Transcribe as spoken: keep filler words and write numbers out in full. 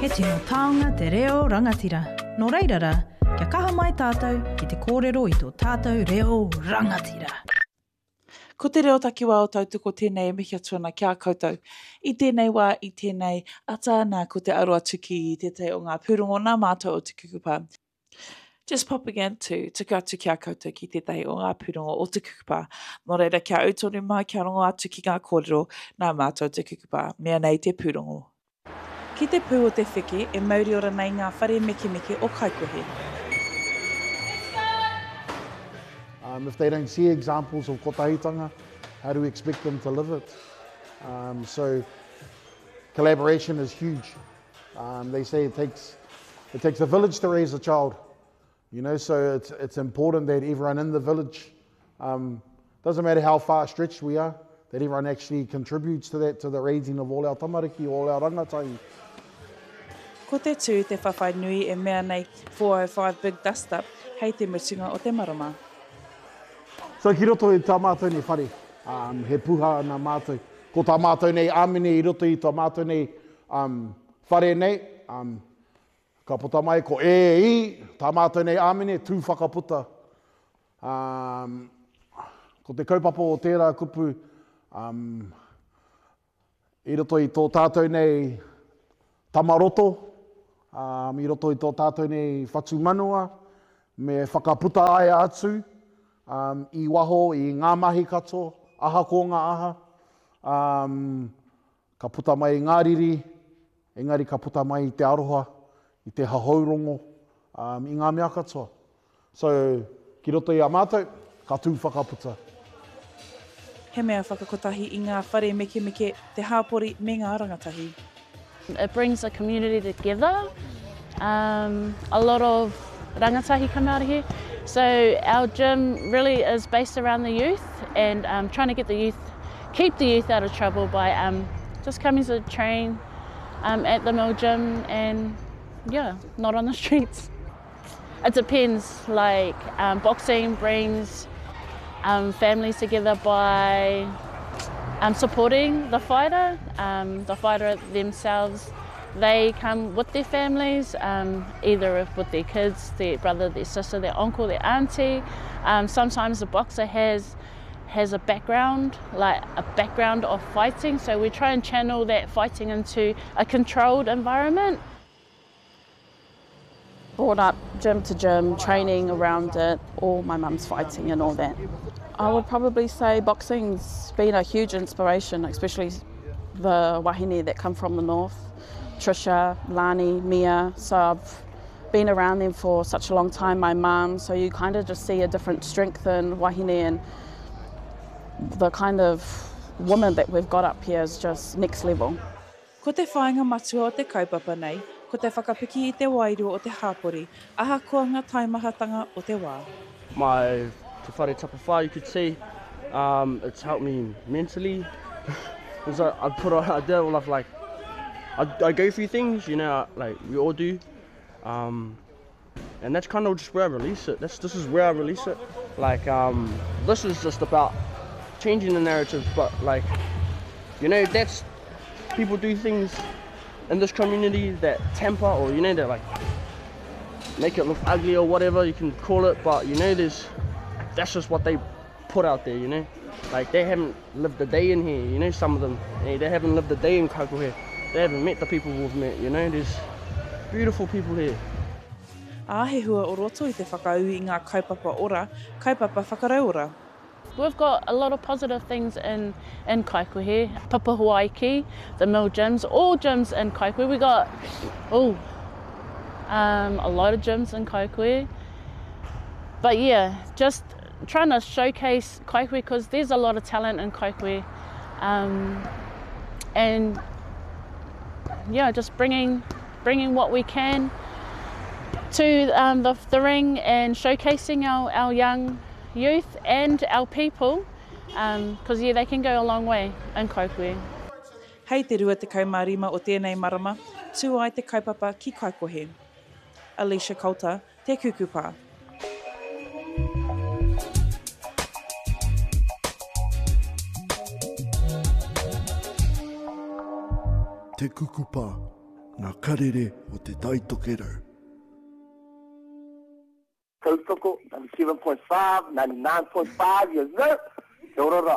He tino taonga te reo rangatira. Nō reira rā, kia kaha mai tātou ki te kōrero i tō tātou reo rangatira. Ko te reo takiwā o Tautoko tēnei e mihi atu ana ki a koutou. I tēnei wā, i tēnei ata, nā ko te aro atu ki tētahi o ngā pūrongo nā mātou o Te Kukupa. Just popping in to tuku atu ki a koutou ki tētahi o ngā pūrongo o Te Kukupa. Nō reira, kia ū tonu mai, kia rongo atu ki ngā kōrero nā mātou o Te Kukupa. Mea nei te pūrongo. Ki te pū o te wheke e mauri ora nei ngā whare mekemeke o Kaikohe. Um, if they don't see examples of kotahitanga, how do we expect them to live it? Um, so collaboration is huge. Um, they say it takes, it takes a village to raise a child. You know, so it's, it's important that everyone in the village, um, doesn't matter how far stretched we are, that everyone actually contributes to that, to the raising of all our tamariki, all our rangatahi. Ko te tū te whawhai nui e mea nei four oh five Big Dust Up hei te mutunga o te marama. So ki roto i tā mātou nei whare, um, he puha nā mātou. Ko tā mātou nei āmine i roto i tā mātou nei, um, whare nei, um, ka puta mai ko e i, tā mātou nei āmine, tū whakaputa. Um, ko te kaupapa o tērā kupu, um, i roto i tō tātou nei tamaroto, um, i roto i tō tātou nei whatumanawa, me whakaputa ai atu, um, i waho, i ngā mahi katoa, aha ko ngā aha, um, ka puta mai i ngā riri, engari ka puta mai i te aroha, i te hahourongo, um, i ngā mea katoa. So, ki roto i a mātou, ka tū whakaputa. He mea whakakotahi i ngā whare mekemeke, te hāpori me ngā rangatahi. It brings the community together. Um, a lot of rangatahi come out of here. So our gym really is based around the youth and, um, trying to get the youth, keep the youth out of trouble by, um, just coming to train, um, at the Mill Gym and yeah, not on the streets. It depends, like, um, boxing brings, um, families together by, um, supporting the fighter. Um, the fighter themselves, they come with their families, um, either if with their kids, their brother, their sister, their uncle, their auntie. Um, sometimes the boxer has, has a background, like a background of fighting, so we try and channel that fighting into a controlled environment. Brought up gym to gym, training around it, all my mum's fighting and all that. I would probably say boxing's been a huge inspiration, especially the wahine that come from the north, Trisha, Lani, Mia. So I've been around them for such a long time, my mum, so you kind of just see a different strength in wahine, and the kind of woman that we've got up here is just next level. Ko te whāinga matua o te kaupapa nei, ko te whakapiki i te wairua o te hāpori, ahakoa ngā taimahatanga o te wā. My Te Whare Tapa Whā, you could see, um, it's helped me mentally. Because I, I put on, I did all of like, I, I go through things, you know, like we all do. Um, and that's kind of just where I release it. That's, this is where I release it. Like, um, this is just about changing the narrative, but like, you know, that's, people do things in this community that temper or, you know, that like make it look ugly or whatever you can call it, but you know, there's, that's just what they put out there, you know. Like they haven't lived a day in here, you know, some of them. They, they haven't lived a day in Kaikohe. They haven't met the people we've met, you know. There's beautiful people here. Ā, he hua o roto i te whakaū i ngā kaupapa ora, kaupapa whakarauora. We've got a lot of positive things in, in Kaikohe. Papahuaiki, the mill gyms, all gyms in Kaikohe. We got, oh, um, a lot of gyms in Kaikohe. But yeah, just trying to showcase Kaikohe 'cause there's a lot of talent in Kaikohe. Um, and yeah, just bringing, bringing what we can to, um, the, the ring and showcasing our, our young youth and our people, um, 'cause yeah, they can go a long way in Kaikohe. Hei te rua tekau mā rima o tēnei marama, tū ai te kaupapa ki Kaikohe. Alicia Coulter, Te Kukupa. Te Kukupa, Ngā karere o Te Tai Tokerau. Tautoko, ninety seven point five, ninety nine point five, yes sir! Kia ora ra.